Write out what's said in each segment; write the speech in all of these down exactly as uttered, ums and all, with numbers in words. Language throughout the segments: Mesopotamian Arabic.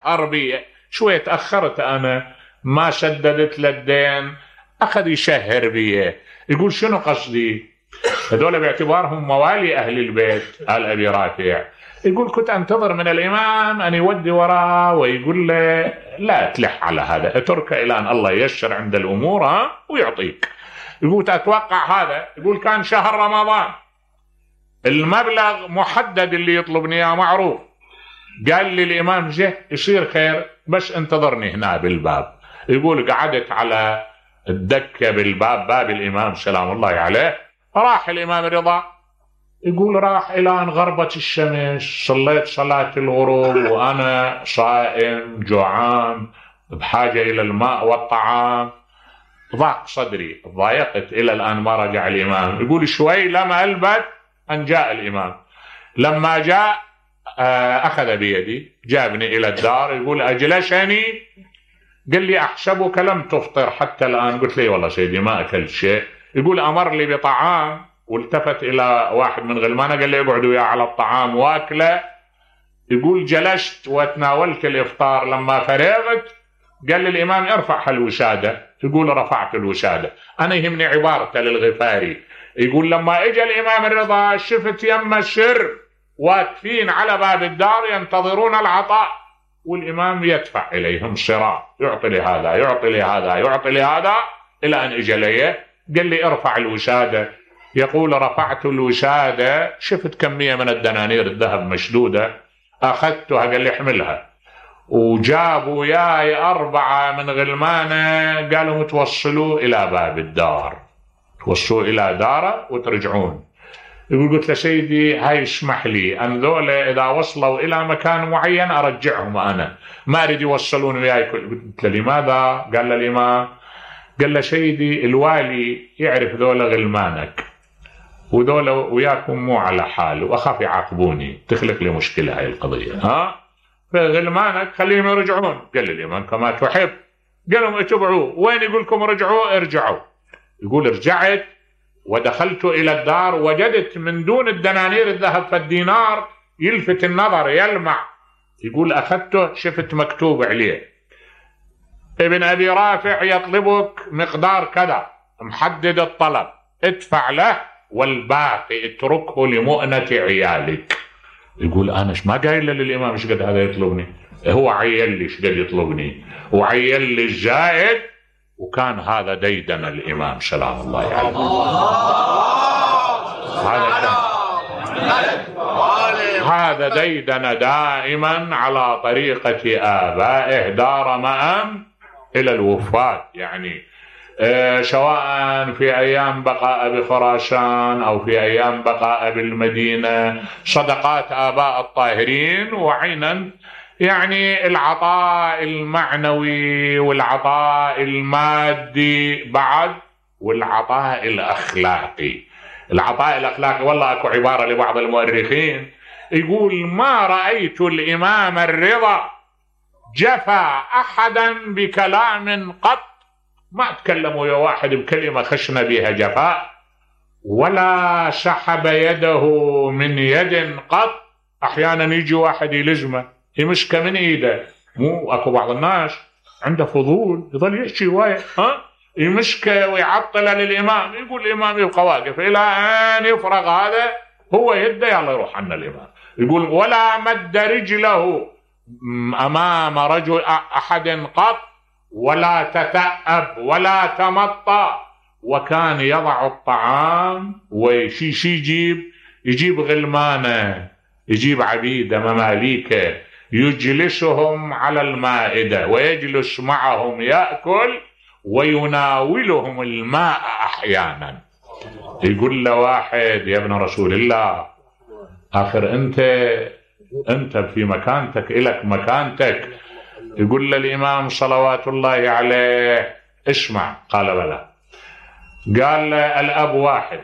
شهر بي شوية تأخرت أنا ما سددت للدين، أخذ يشهر بي. يقول شنو قصدي؟ هذول باعتبارهم موالي أهل البيت آل أبي رافع. يقول كنت أنتظر من الإمام أن يودي وراه ويقول له لا تلح على هذا، اترك إلى أن الله ييسر عند الأمور ها ويعطيك. يقول أتوقع هذا. يقول كان شهر رمضان، المبلغ محدد اللي يطلبني اياه معروف. قال لي الإمام جه يصير خير بس انتظرني هنا بالباب. يقول قعدت على الدكة بالباب، باب الإمام سلام الله عليه. راح الإمام رضا، يقول راح إلى أن غربت الشمس، صليت صلاة الغروب وأنا صائم جوعان بحاجة إلى الماء والطعام، ضاق صدري، ضايقت إلى الآن ما رجع الإمام. يقول شوي لم ألبث أن جاء الإمام. لما جاء أخذ بيدي جابني إلى الدار. يقول أجلسني، قال لي أحسبك لم تفطر حتى الآن. قلت لي والله سيدي ما أكلت شيء. يقول أمر لي بطعام والتفت إلى واحد من غلمانه قال لي اقعدوا وياه على الطعام واكله. يقول جلست وتناولت الإفطار. لما فرغت قال لي الإمام ارفع الوسادة. يقول رفعت الوسادة. أنا يهمني عبارته للغفاري. يقول لما اجى الإمام الرضا شفت يم السر واقفين على باب الدار ينتظرون العطاء، والإمام يدفع إليهم صراع، يعطي لهذا يعطي لهذا يعطي لهذا إلى أن اجى لي قال لي ارفع الوسادة. يقول رفعت الوسادة شفت كمية من الدنانير الذهب مشدودة، أخذتها قال لي احملها. وجابوا ياي أربعة من غلمانه قالوا توصلوا إلى باب الدار، توصلوا إلى داره وترجعون. يقول قلت له سيدي هاي اسمح لي أن ذولا إذا وصلوا إلى مكان معين أرجعهم، أنا ما أريد يوصلون وياي. قلت له لماذا؟ قال له الإمام قال له سيدي الوالي يعرف ذولا غلمانك وذولا وياكم مو على حال وأخاف يعاقبوني تخلق لي مشكلة هاي القضية، ها فغلمانك خليهم يرجعون. قال لي الإمام كما تحب. قال لهم اتبعوه، وين يقول لكم رجعوا ارجعوا. يقول رجعت ودخلت إلى الدار وجدت من دون الدنانير الذهب فالدينار يلفت النظر يلمع. يقول أخذته شفت مكتوب عليه ابن أبي رافع يطلبك مقدار كذا، محدد الطلب، ادفع له والباقي اتركه لمؤنة عيالك. يقول أنا ما قايل للإمام ايش قد هذا يطلبني، هو عيل لي ايش قد يطلبني وعيل لي الزائد. وكان هذا ديدن الإمام سلام الله عليه. هذا هذا ديدن دائما على طريقة آبائه دار مأم إلى الوفاة، يعني آه سواء في أيام بقاء بخراسان أو في أيام بقاء بالمدينة، صدقات آباء الطاهرين. وعينا يعني العطاء المعنوي والعطاء المادي بعد، والعطاء الأخلاقي. العطاء الأخلاقي والله أكو عبارة لبعض المؤرخين يقول ما رأيت الإمام الرضا جفا أحدا بكلام قط، ما تكلموا يا واحد بكلمة خشنا بها جفاء، ولا سحب يده من يد قط. أحيانا يجي واحد يلزمه يمسكه من ايده، مو اكو بعض الناس عنده فضول يظل يحكي وايد، ها يمسكه ويعطله للامام، يقول الامام يبقى واقف الى ان يفرغ هذا هو يده يلا يروح عنا الامام. يقول ولا مد رجله امام رجل احد قط، ولا تثأب ولا تمطى، وكان يضع الطعام وشي شي يجيب يجيب غلمانه يجيب عبيده مماليكه يجلسهم على المائدة ويجلس معهم يأكل ويناولهم الماء أحيانا. يقول له واحد يا ابن رسول الله آخر أنت أنت في مكانتك إلك مكانتك. يقول له الإمام صلوات الله عليه اسمع. قال بلى. قال له الأب واحد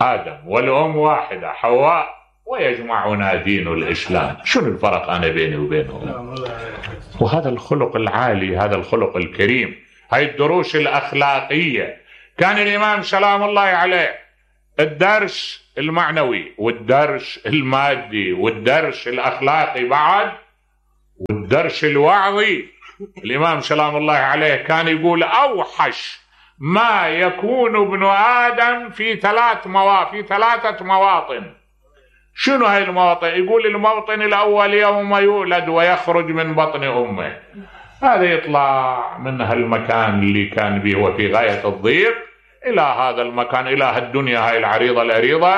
آدم والأم واحدة حواء ويجمعنا دين الإسلام، شنو الفرق أنا بيني وبينهم؟ وهذا الخلق العالي، هذا الخلق الكريم، هاي الدروس الأخلاقية. كان الإمام سلام الله عليه الدرس المعنوي والدرس المادي والدرس الأخلاقي بعد، والدرس الوعظي الإمام سلام الله عليه كان يقول أوحش ما يكون ابن آدم في ثلاث مواطن في ثلاثة مواطن. شنو هاي المواطن؟ يقول الموطن الأول يوم يولد ويخرج من بطن أمه، هذا يطلع من هالمكان اللي كان به وفي غاية الضيق إلى هذا المكان، إلى هالدنيا هاي العريضة الأريضة،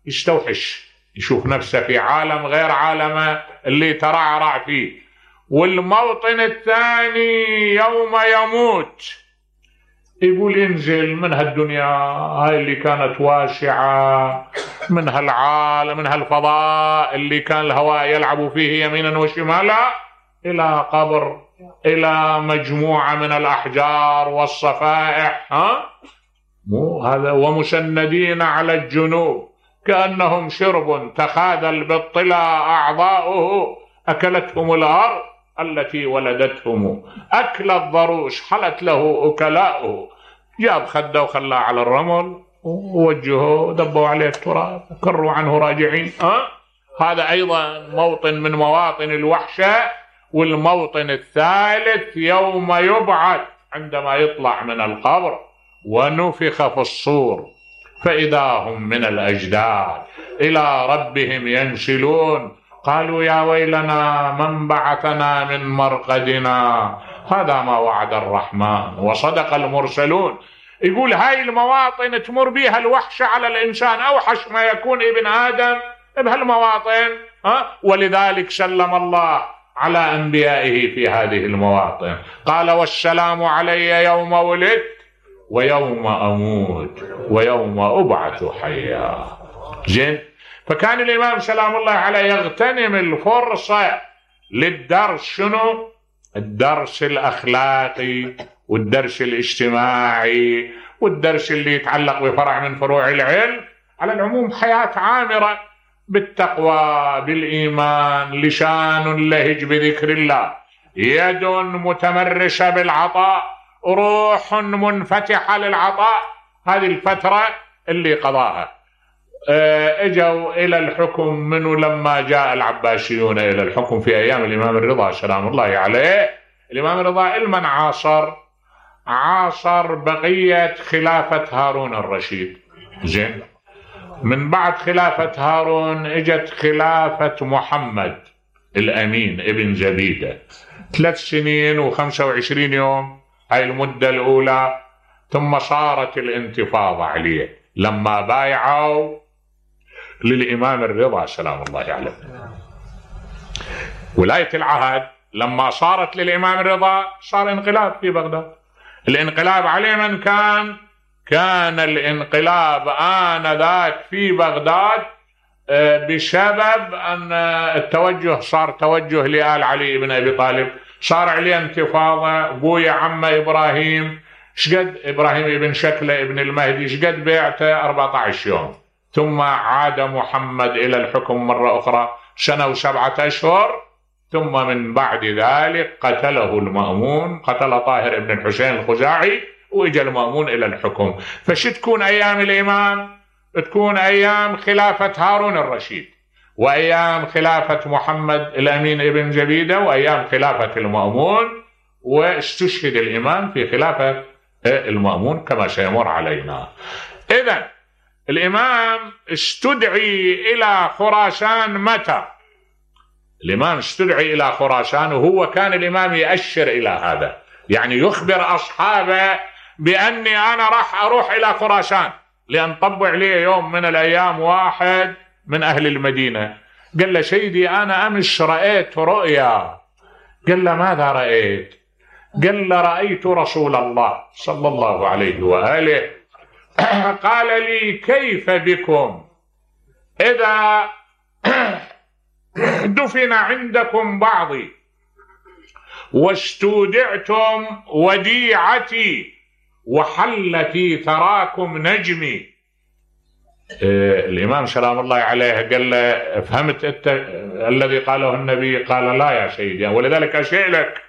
يستوحش، يشوف نفسه في عالم غير عالمه اللي ترعرع فيه. والموطن الثاني يوم يموت، يقول ينزل من هالدنيا هاي اللي كانت واسعة، من هالعالم من هالفضاء اللي كان الهواء يلعب فيه يمينا وشمالا، إلى قبر، إلى مجموعة من الأحجار والصفائح، ها مو هذا، ومسندين على الجنوب كأنهم شرب تخاذل بالطلا أعضاؤه، أكلتهم الأرض التي ولدتهم، أكل الضروس حلت له أكلاؤه، جاب خده وخلاه على الرمل ووجهه دبوا عليه التراب كروا عنه راجعين. أه؟ هذا أيضا موطن من مواطن الوحشة. والموطن الثالث يوم يبعث، عندما يطلع من القبر ونفخ في الصور فإذا هم من الأجداث إلى ربهم ينسلون، قالوا يا ويلنا من بعثنا من مرقدنا، هذا ما وعد الرحمن وصدق المرسلون. يقول هاي المواطن تمر بها الوحشة على الإنسان، أوحش ما يكون ابن آدم بهالمواطن. ها؟ ولذلك سلم الله على أنبيائه في هذه المواطن، قال والسلام علي يوم ولدت ويوم أموت ويوم أبعث حيا. زين، فكان الإمام سلام الله عليه يغتنم الفرصة للدرس. شنو؟ الدرس الأخلاقي والدرس الاجتماعي والدرس اللي يتعلق بفرع من فروع العلم. على العموم حياة عامرة بالتقوى بالإيمان، لسان لهج بذكر الله، يد متمرسة بالعطاء، روح منفتحة للعطاء. هذه الفترة اللي قضاها. اجوا الى الحكم منه لما جاء العباسيون الى الحكم في ايام الامام الرضا سلام الله عليه. الامام الرضا المن عاصر عاصر بقية خلافة هارون الرشيد. زين، من بعد خلافة هارون اجت خلافة محمد الامين ابن زبيدة، ثلاث سنين وخمسة وعشرين يوم هاي المدة الاولى. ثم صارت الانتفاضة عليه لما بايعوا للإمام الرضا سلام الله عليه. ولاية العهد لما صارت للإمام الرضا صار انقلاب في بغداد. الانقلاب عليه من كان؟ كان الانقلاب آنذاك في بغداد بسبب أن التوجه صار توجه لآل علي بن أبي طالب، صار عليه انتفاضة. بويا عم إبراهيم شقد إبراهيم ابن شكلة ابن المهدي شقد بيعته أربعة عشر يوم. ثم عاد محمد إلى الحكم مرة أخرى سنة وسبعة أشهر. ثم من بعد ذلك قتله المأمون، قتل طاهر ابن الحسين الخزاعي، وإجا المأمون إلى الحكم. فش تكون أيام الإمام؟ تكون أيام خلافة هارون الرشيد، وأيام خلافة محمد الأمين ابن زبيدة، وأيام خلافة المأمون. واستشهد الإمام في خلافة المأمون كما سيمر علينا. إذن الإمام استدعي إلى خراسان متى؟ الإمام استدعي إلى خراسان وهو كان الإمام يأشر إلى هذا، يعني يخبر أصحابه بأني أنا راح أروح إلى خراسان، لأن طبع لي يوم من الأيام واحد من أهل المدينة قال له سيدي أنا أمس رأيت رؤيا. قال له ماذا رأيت؟ قال له رأيت رسول الله صلى الله عليه وآله قال لي كيف بكم إذا دفن عندكم بعضي واستودعتم وديعتي وحل في ثراكم نجمي. إيه الإمام سلام الله عليه قال له فهمت أنت الذي قاله النبي؟ قال لا يا سيدي، ولذلك أسألك.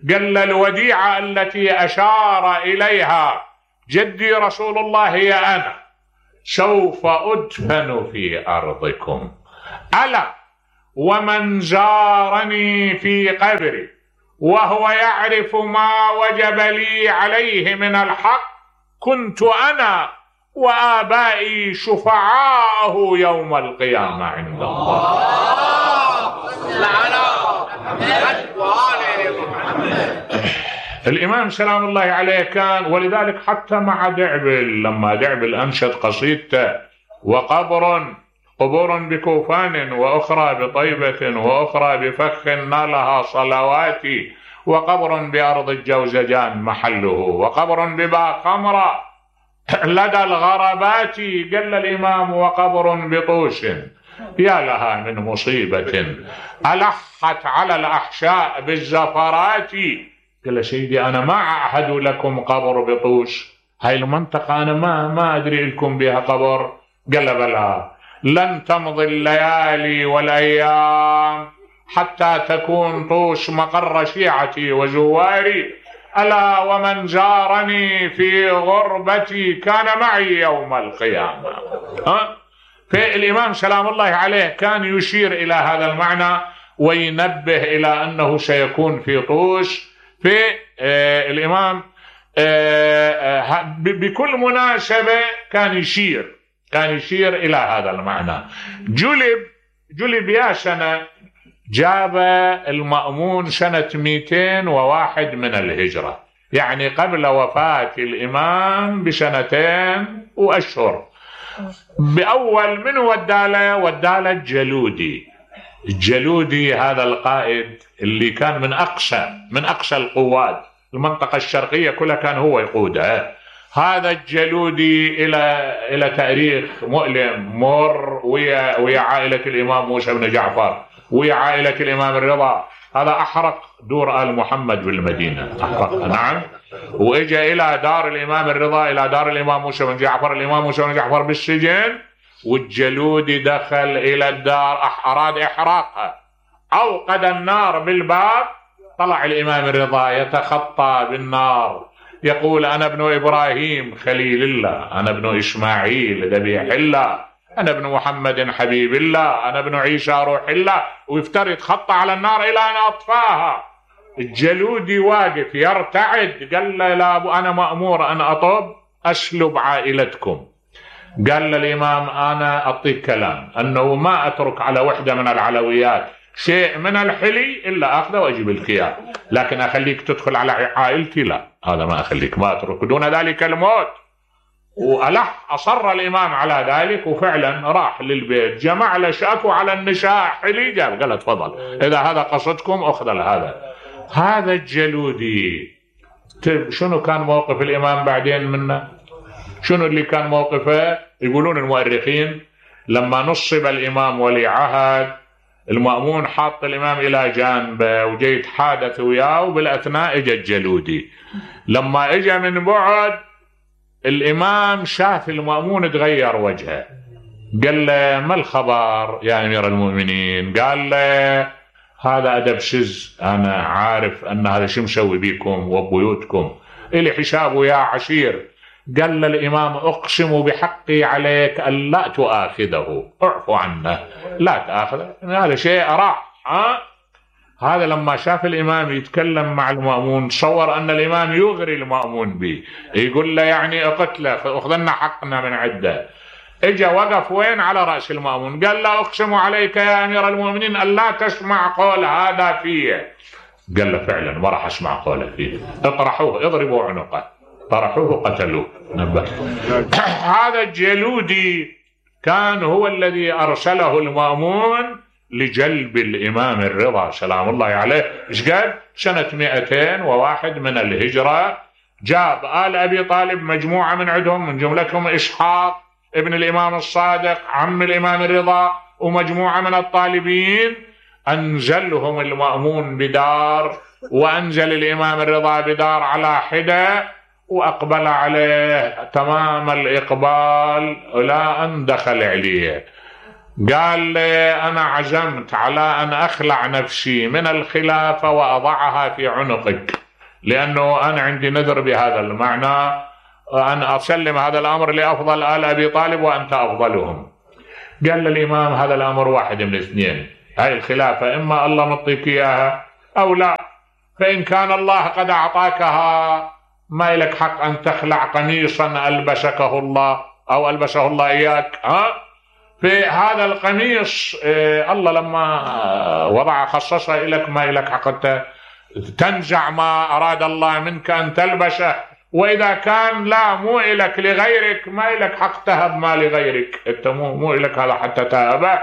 قال له الوديعة التي أشار إليها جدي رسول الله هي أنا، سوف أدفن في أرضكم، ألا ومن زارني في قبري وهو يعرف ما وجب لي عليه من الحق كنت أنا وآبائي شفعاءه يوم القيامة عند الله. الإمام سلام الله عليه كان، ولذلك حتى مع دعبل لما دعبل أنشد قصيدته وقبر قبور بكوفان وأخرى بطيبة وأخرى بفخ نالها صلواتي وقبر بأرض الجوزجان محله وقبر ببا خمرة لدى الغربات، قال الإمام وقبر بطوش يا لها من مصيبة ألحت على الأحشاء بالزفرات. قال سيدي أنا ما أعهد لكم قبر بطوش، هاي المنطقة أنا ما ما أدري لكم بها قبر. قال بلى لن تمضي الليالي والأيام حتى تكون طوش مقر شيعتي وزواري، ألا ومن زارني في غربتي كان معي يوم القيامة. ها؟ فالإمام سلام الله عليه كان يشير إلى هذا المعنى وينبه إلى أنه سيكون في طوش. في آه الإمام آه آه بكل مناسبة كان يشير كان يشير إلى هذا المعنى. جلب جلب يا سنة جاب المأمون سنة مئتين وواحد من الهجرة، يعني قبل وفاة الإمام بسنتين وأشهر. بأول من وداله وداله الجلودي. الجلودي هذا القائد اللي كان من أقصى من أقصى القوات، المنطقة الشرقية كلها كان هو يقودها. هذا الجلودي إلى إلى تاريخ مؤلم مر ويا ويا عائلة الإمام موسى بن جعفر ويا عائلة الإمام الرضا. هذا أحرق دور آل محمد بالمدينة، أحرق نعم، وإجا إلى دار الإمام الرضا إلى دار الإمام موسى بن جعفر. الإمام موسى بن جعفر بالسجن والجلودي دخل إلى الدار أراد إحراقها، أوقد النار بالباب. طلع الإمام الرضا يتخطى بالنار يقول أنا ابن إبراهيم خليل الله، أنا ابن إسماعيل ذبيح الله، أنا ابن محمد حبيب الله، أنا ابن عيسى روح الله، ويفتر يتخطى على النار إلى أن أطفاها. الجلودي واقف يرتعد، قال له لا أبو أنا مأمور أن أطب أسلب عائلتكم. قال الإمام أنا أعطيك كلام أنه ما أترك على وحدة من العلويات شيء من الحلي إلا أخذه وأجيب لك إياه، لكن أخليك تدخل على عائلتي لا، هذا ما أخليك، ما أترك دون ذلك الموت. وألح أصر الإمام على ذلك، وفعلا راح للبيت جمع له شاكو على النساء حلي، جاب قال تفضل إذا هذا قصدكم أخذ هذا. هذا الجلودي شنو كان موقف الإمام بعدين منه؟ شنو اللي كان موقفه؟ يقولون المؤرخين لما نصب الإمام ولي عهد المأمون حاط الإمام إلى جانبه وجاي يتحادث وياه، وبالأثناء اجى الجلودي. لما اجى من بعد الإمام شاف المأمون تغير وجهه، قال له ما الخبر يا أمير المؤمنين؟ قال له هذا أدب شز، أنا عارف أن هذا شو مسوي بيكم وبيوتكم، إلي حسابه يا عشير. قال الإمام أقسم بحقي عليك أن لا تؤاخذه، اعفو عنه لا تأخذه، هذا شيء راح. ها؟ هذا لما شاف الإمام يتكلم مع المأمون تصور أن الإمام يغري المأمون به، يقول له يعني اقتله أخذنا حقنا من عده. اجا وقف وين؟ على رأس المأمون، قال له أقسم عليك يا أمير المؤمنين أن لا تسمع قول هذا فيه. قال له فعلا ما راح أسمع قوله فيه، اطرحوه اضربوا عنقه، طرحوه قتلوه. هذا الجلودي كان هو الذي أرسله المأمون لجلب الإمام الرضا سلام الله عليه. إيش قال؟ سنة مئتين وواحد من الهجرة. جاب آل أبي طالب مجموعة من عندهم، من جملتهم إسحاق ابن الإمام الصادق عم الإمام الرضا، ومجموعة من الطالبين. أنزلهم المأمون بدار، وأنزل الإمام الرضا بدار على حدة، وأقبل عليه تمام الإقبال إلى أن دخل عليه. قال لي أنا عزمت على أن أخلع نفسي من الخلافة وأضعها في عنقك، لأنه أنا عندي نذر بهذا المعنى أن أسلم هذا الأمر لأفضل آل أبي طالب وأنت أفضلهم. قال للإمام هذا الأمر واحد من اثنين، هاي الخلافة إما الله مطيك إياها أو لا. فإن كان الله قد أعطاكها ما لك حق أن تخلع قميصا ألبسكه الله أو ألبسه الله إياك. ها في هذا القميص إيه الله لما وضع خصصه لك ما لك حق تنزع ما أراد الله منك أن تلبسه. وإذا كان لا مو إلك لغيرك ما لك حق تهب ما لغيرك، أنت مو مو إلك هذا حتى تهبه.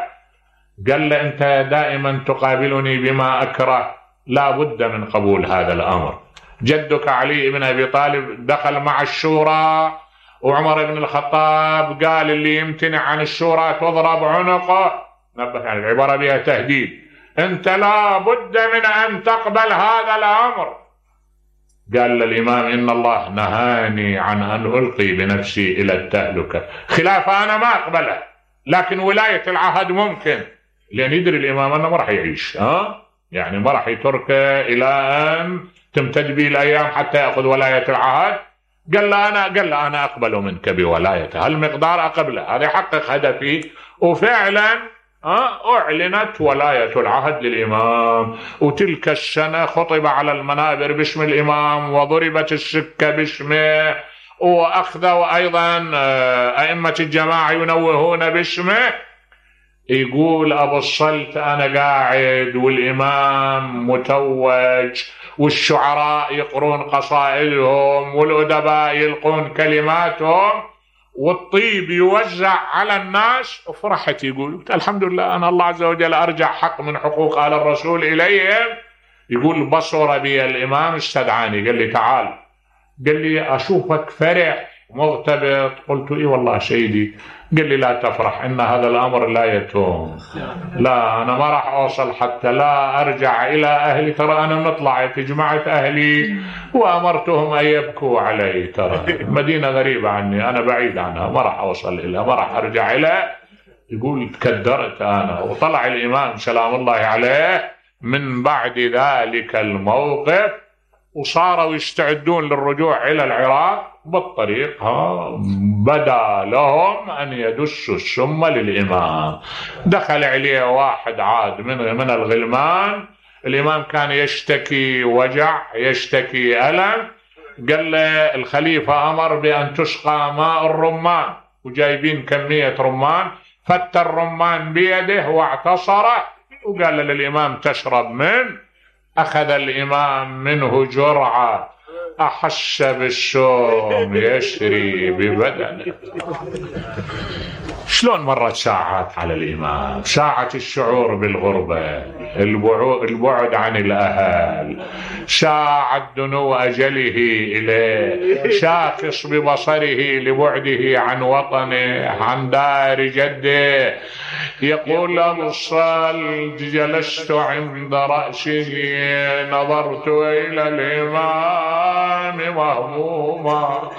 قال له أنت دائما تقابلني بما أكره، لا بد من قبول هذا الأمر. جدك علي بن أبي طالب دخل مع الشورى، وعمر بن الخطاب قال اللي يمتنع عن الشورى تضرب عنقه. نبه يعني العبارة بها تهديد، أنت لا بد من أن تقبل هذا الأمر. قال للإمام إن الله نهاني عن أن ألقي بنفسي إلى التهلكة. خلافة أنا ما أقبلها، لكن ولاية العهد ممكن، لأن يدري الإمام أنه ما راح يعيش، ها يعني ما راح يتركه إلى أن تمتد به الأيام حتى يأخذ ولاية العهد. قال له أنا قال له أنا أقبل منك بولايته، هالمقدار أقبله، هذا يحقق هدفي. وفعلا أعلنت ولاية العهد للإمام، وتلك السنة خطب على المنابر باسم الإمام، وضربت السكة باسمه، وأخذوا أيضا أئمة الجماعة ينوهون باسمه. يقول أبو الصلت أنا قاعد والإمام متوج، والشعراء يقرون قصائدهم، والأدباء يلقون كلماتهم، والطيب يوزع على الناس. وفرحت يقول الحمد لله أنا الله عز وجل أرجع حق من حقوق آل الرسول إليهم. يقول بصر بي الإمام استدعاني، قال لي تعال، قال لي أشوفك فرح مغتبط. قلت إيه والله سيدي. قال لي لا تفرح، إن هذا الأمر لا يتوم، لا أنا ما راح أوصل حتى لا أرجع إلى أهلي. ترى أنا نطلع تجمعت أهلي وأمرتهم أن يبكوا علي، ترى مدينة غريبة عني، أنا بعيد عنها، ما راح أوصل إليها، ما راح أرجع إليها. يقول تكدرت أنا. وطلع الإمام سلام الله عليه من بعد ذلك الموقف، وصاروا يستعدون للرجوع إلى العراق. بالطريق ها بدا لهم أن يدسوا السم للإمام. دخل عليه واحد عاد من من الغلمان، الإمام كان يشتكي وجع، يشتكي ألم. قال له الخليفة أمر بأن تسقى ماء الرمان، وجايبين كمية رمان، فت الرمان بيده واعتصره، وقال للإمام تشرب منه. أخذ الإمام منه جرعة، أحس بالشوم يسري ببدنه. شلون مرت ساعات على الإمام، ساعة الشعور بالغربة، البعد عن الأهل، ساعة دنو أجله إليه، شاخص ببصره لبعده عن وطنه، عن دار جده. يقول أبو الصلت جلست عند رأسه نظرت إلى الإمام مهموما.